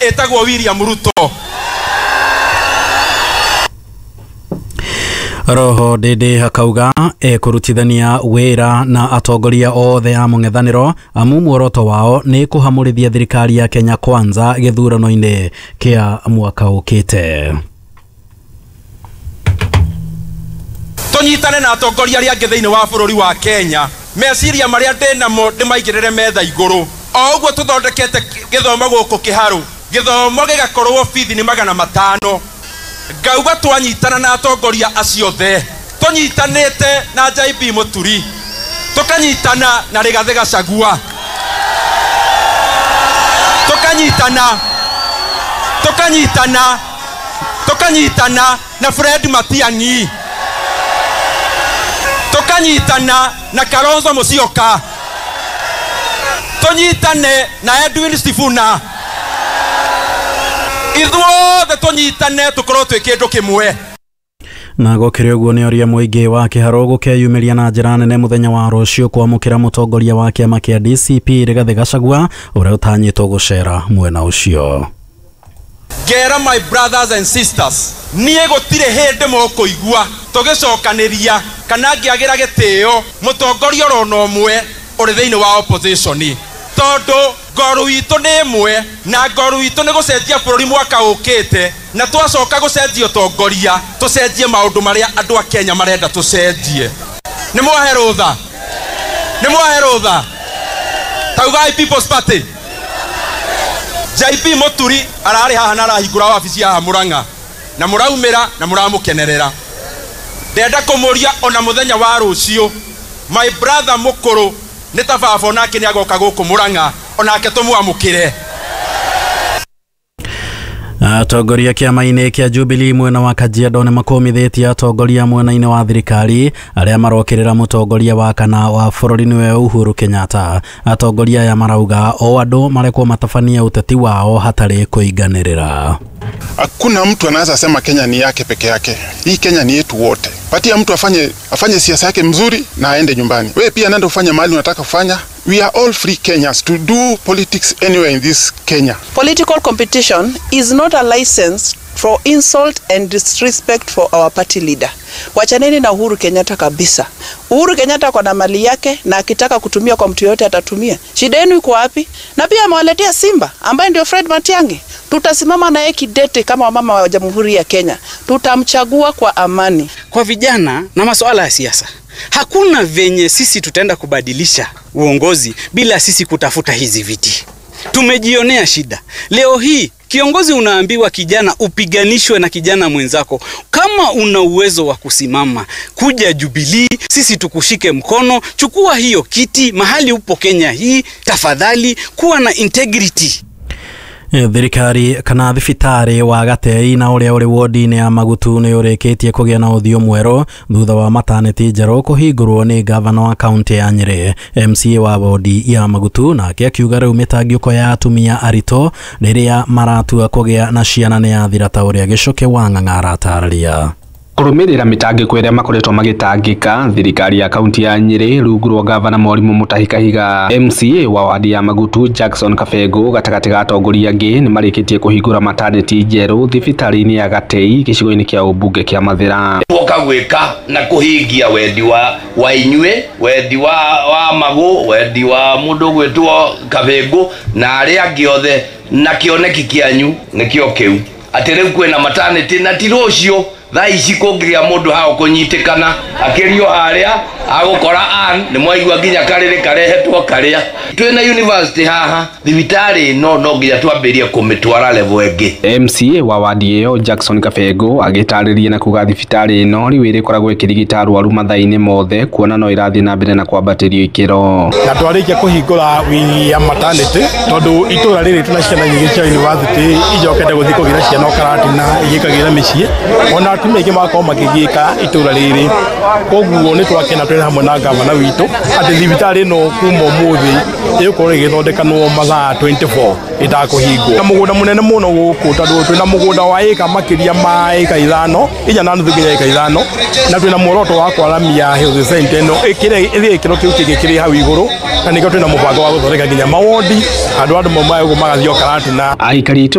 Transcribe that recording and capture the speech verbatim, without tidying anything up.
Etagwo William Ruto. Roho Ndindi akauga ekurutithania wira na atongoria othe a mũng'ethanĩro amu muoroto wao nĩ kũhamũrithia thirikari ya Kenya Kwanza gĩthurano-inĩ kĩa mwaka ũkĩte. Tũnyitane na atongoria arĩa angĩ thĩinĩ wa bũrũri wa Kenya, meciria marĩa ndĩ namo ndĩmaigĩrĩre metha igũrũ. O ũguo tũthondekete gĩthomo gũkũ Kĩharũ, gĩthomo gĩgakorwo bithi nĩ magana matano. Ngauga twanyitana na atongoria acio othe, tũnyitanĩte na J B Muturi, tũkanyitana na Rigathĩ Gachagua, tũkanyitana tũkanyitana tũkanyitana na Fred Matiang'i, tũkanyitana na Kalonzo Musyoka, tũnyitane na Edwin Sifuna, ithuothe tũnyitane tũkorwo twĩ kĩndũ kĩmwe. Na gũkĩrĩ ũguo nĩ ũrĩa mũingĩ wa Kĩharũ gũkeyumĩria na njĩra nene mũthenya wa rũciũ kwamũkĩra mũtongoria wa kĩama kĩa D C P Rigathĩ Gachagua ũrĩa ũtanyĩtwo gũcera mwena ũcio. Ngera my brothers and sisters, niĩ gũtirĩ hĩndĩ mũkũigua tũgĩcokanĩria kana ngĩagĩra gĩtĩo mũtongoria orona ũmwe ũrĩ thĩinĩ wa opposition, tondũ ngoru itũ nĩ ĩmwe na ngoru itũ nĩ gũcenjia bũrũri mwaka ũkĩte, na twacoka gũcenjia ũtongoria tũcenjie maũndũ marĩa andũ a Kenya marenda tũcenjie. Nĩ mwahe rũtha? Nĩ mwahe rũtha? Taugai People's Party. J B Muturi ararĩ haha na arahingũra wabici haha Murang'a, na mũraumĩra na mũramũkenerera. Ndenda kũmũria ona mũthenya wa rũciũ, my brother mũkũrũ nĩ ta baba onake nĩ agoka gũkũ Murang'a, onake tũmwamũkĩre. Atongoria kĩama-inĩ kĩa Jubilee mwena wa Kajiado nĩ makũmithĩtie atongoria mwena-inĩ wa thirikari arĩa marokĩrĩra mũtongoria wa kana wa bũrũri nĩwe Uhuru Kenyatta. Atongoria aya marauga o andũ marekwo matabanie ũteti wao hatarĩ kũinganĩrĩra. Hakuna mtu anaweza sema Kenya ni yake peke yake. Hii Kenya ni yetu wote. Patia mtu afanye afanye siasa yake mzuri na aende nyumbani. Wewe pia nenda ufanye mahali unataka kufanya. We are all free Kenyans to do politics anywhere in this Kenya. Political competition is not a license for insult and disrespect for our party leader. Wachaneni na Uhuru Kenyatta kabisa. Uhuru Kenyatta kwa na mali yake na akitaka kutumia kwa mtu yote atatumia. Shida yenu iko wapi? Na pia amewaletea Simba ambaye ndio Fred Matiang'i. Tutasimama na yeye kidete kama wamama wa Jamhuri ya Kenya. Tutamchagua kwa amani. Kwa vijana na masuala ya siasa, hakuna venye sisi tutaenda kubadilisha uongozi bila sisi kutafuta hizi viti. Tumejionea shida. Leo hii kiongozi unaambiwa kijana upiganishwe na kijana mwenzako. Kama una uwezo wa kusimama, kuja Jubilee, sisi tukushike mkono, chukua hiyo kiti mahali upo Kenya hii, tafadhali kuwa na integrity. Thirikari kana thibitarĩ wa Gatei na ũrĩa ũrĩ wodi-inĩ ya Magutu nĩ ũrĩkĩtie kũgĩa na ũthiũ mwerũ thutha wa mataneti njerũ kũhingũrwo nĩ gavana wa kaunti ya Nyĩrĩ. M C A wa wodi ya Magutu nake akiuga rĩu mĩtangĩko ya atumia aritũ rĩrĩa maratua kũgĩa na ciana nĩ yathira ta ũrĩa Gĩcũkĩ wa Ng'ang'a aratarĩria. Kũrũmĩrĩra mĩtangĩko ĩrĩa makoretwo magĩtangĩka, thirikari ya kaunti ya Nyĩrĩ rungu rwa gavana Mwarimũ Mutahi Kahiga, M C A wa wadi ya Magutu Jackson Kabengũ gatagatĩ ga atongoria angĩ nĩ marĩkĩtie kũhingũra mataneti njerũ thibitarĩ-inĩ ya Gatei gĩcigo-inĩ kĩa ũmbunge kĩa Mathĩra. Woka gwĩka na kũhingia wendi wa wa inyuĩ, wendi wa wa Magũ, wendi wa mũndũ gwĩtwo Kabengũ na arĩa angĩ othe, na kĩoneki kĩanyu nĩkĩo kĩu atĩ rĩu kwĩna mataneti na ti rũciũ thaa ici kũngĩgĩa mũndũ hao kũnyitĩkana akĩrio harĩa agũkora an nĩ mwaigua nginya karĩrĩ karehetwo karĩa twĩna university haha thibitarĩ ĩno no nginya twambĩrie kũmĩtwara level ĩngĩ. M C A wa wadi ĩyo Jackson Kabengũ agĩtarĩria na kuga thibitarĩ ĩno rĩu ĩrĩkoragwo ĩkĩrigita arwaru mathaa-inĩ mothe kuona no ĩrathiĩ na mbere na kwambatĩrio ikĩro. Na twarĩkia kũhingũra wing ya maternity tondũ itũra rĩrĩ tuna ciana nyingĩ cia university ijokete gũthiĩ kũgĩra ciana Karatina igĩkagĩra mĩciĩ ona atumia aingĩ magakorwo makĩgiĩka itũra rĩrĩ, koguo nĩ twakena twĩ hamwe na gavana witũ atĩ thibitarĩ ĩno kuma ũmũthĩ ĩgũkorwo ĩgĩthondekanwo mathaa twenty four ĩtakũhingwo. Na mũgũnda mũnene mũno gũkũ tondũ twĩna mũgũnda wa ĩka makĩria ma ĩka ithano inya na nuthu nginya ĩka ithano, na twĩna muoroto wa kwaramia health center ĩno ĩkĩre ĩthiĩ gĩkĩro kĩu kĩngĩ kĩrĩ hau igũrũ, na nĩkĩo twĩna mũbango wa gũthondeka nginya mawondi andũ andũ maumaga gũkũ magathiĩ o Karatina. Aikari itũra